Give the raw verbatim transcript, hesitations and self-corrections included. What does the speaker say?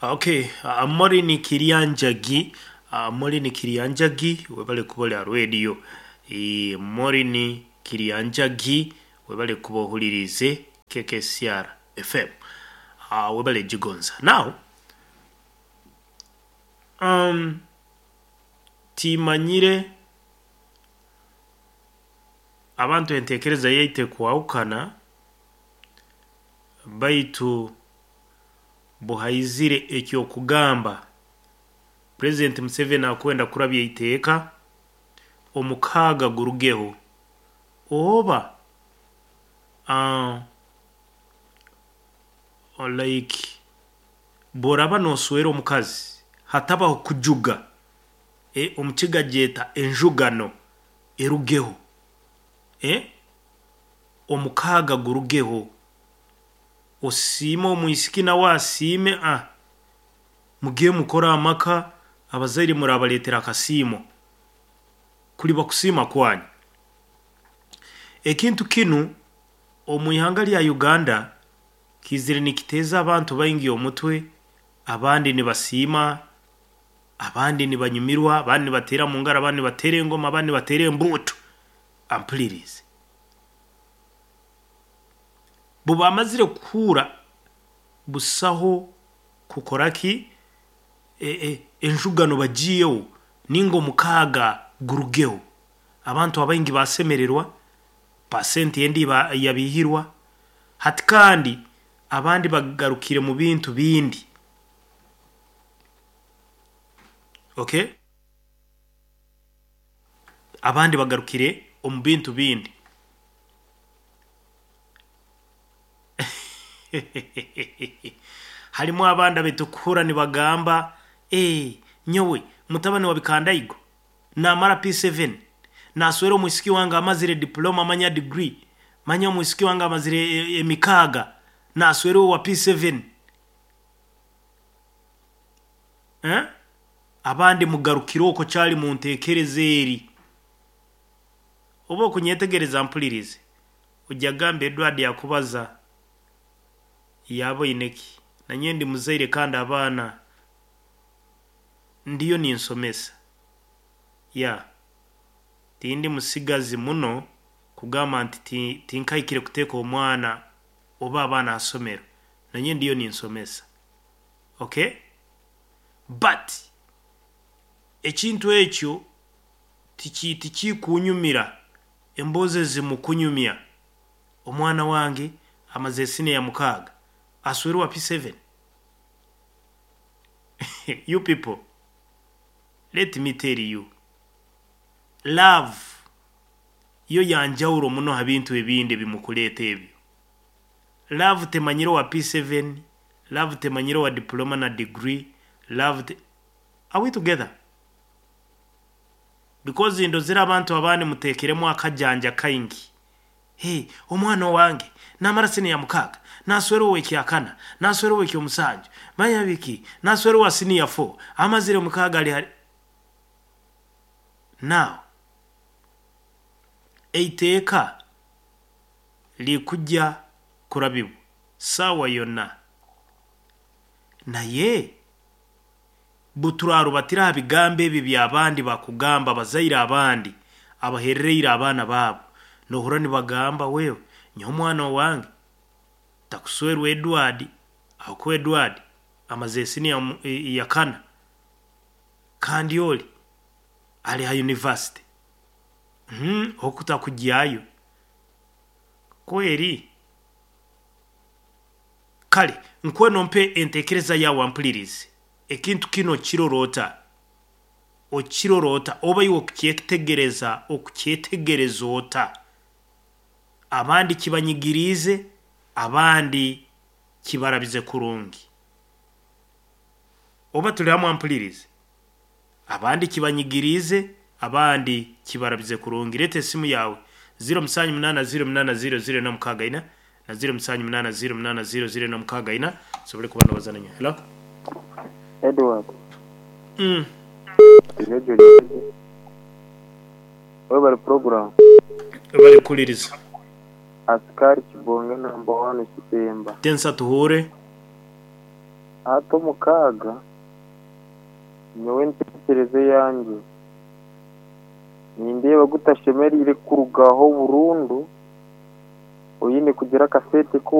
Okay, uh, Maureen Kirianjagi, uh, Maureen Kirianjagi webale kuba oli ha radio. E, Maureen Kirianjagi webale kuba ohulirize K K C R F M. Uh, webale gigonza. Now um timanyire abantu entekereza yaite kwahukana baitu buhaizire ekyokugamba President Museveni akwenda kurabya iteeka omukaaga gurugeho oba uh, like boraba noswera omukazi hatabaho kujuga e, omukiga gyeta enjugano erugeho e, omukaaga gurugeho osiime omwisiki nawe asiime ah mugiye mukora amaka abazaire murabaletera akasiimo kuli bakusiima kwanyu. Ekintu kinu omu ihanga lya Uganda kizire nikiteeza abantu baingi omutwe, abandi nibasiima, abandi nibanyumirwa, abandi nibateera mu ngaro, abandi nibateera engoma, abandi nibateera embuutu. Ampulirize bubamazire kuhura busaho kukoraki e, e, enjugano bagiyeho ninga omukaaga gurugeho abantu abaingi basemererwa pasenti endi yabihirwa hati kandi abandi bagarukire mu bintu bindi. Okay, abandi bagarukire omu bintu bindi. Harimu abandi abetukuhura nibagamba eh nyowe mutabani wa Bikandaigo namara P seven naswera omwisiki wange amazire diploma manya degree manya omwisiki wange amazire emikaaga naswera wa P seven. Eh abandi mugarukire oko kyali mu ntekereza eri oba okunyetegereza mpulirize ujya gamba Edward yakubaza yaboineki nanye ndi muzaire kandi abaana ndiyo ninsomesa ya tindi musigazi muno kugamba nti tinkaikire kuteeka omwana oba abaana asomero nanye ndiyo ninsomesa. Okay, but ekintu ekyo tiki tikikunyumira emboze zimukunyumya omwana wange amaze sine ya mukaaga aswerwa P seven. You people, let me tell you, love yo yanjawulo muno ha bintu ebindi bimukuleeta ebyo. Love temanyiro wa P seven, love temanyiro wa diploma na degree, love te... Are we together? Because ndozera abantu abandi mutekeremu akajanja kaingi. Hey, omwana wange namara sine ya mukaaga naswera owekyakana naswera owekyomusanju manya biki naswera wa senior four amazire mukaaga ali hari. Now eiteeka likujja kurabibwa sawa yonna naye buturarubatira bigambo ebi byabandi bakugamba bazaire abandi abaherereire abaana baabo nohura nibagamba wewe nyomwana wange takuswerwa Edward ako Edward amaze senior ya kana kandi oli ali ha university mhm okutakujyayo kweri kale nkweno mpe entekereza yawe ampulirize ekintu kino kirorota okirorota oba iwe okukyetegereza okukyetegereza ota abandi kibanyigirize abandi kibarabize kurungi oba tuli hamwe ampulirize abandi kibanyigirize abandi kibarabize kurungi. Leta esimu yawe zero musanju munana zero munana zero zero na mukaaga ina na zero musanju munana zero munana zero zero na mukaaga ina sobole kubana bazananya. Hello Edward. Mm. Wewe program. Bari kuliriza. Askari Kibonge number one Kipemba. Tensa tuhure. Hati omukaaga nyowe enteekyereza eyangye nindeeba gutashemereire kurugaho burundu, oine kugira akasente ku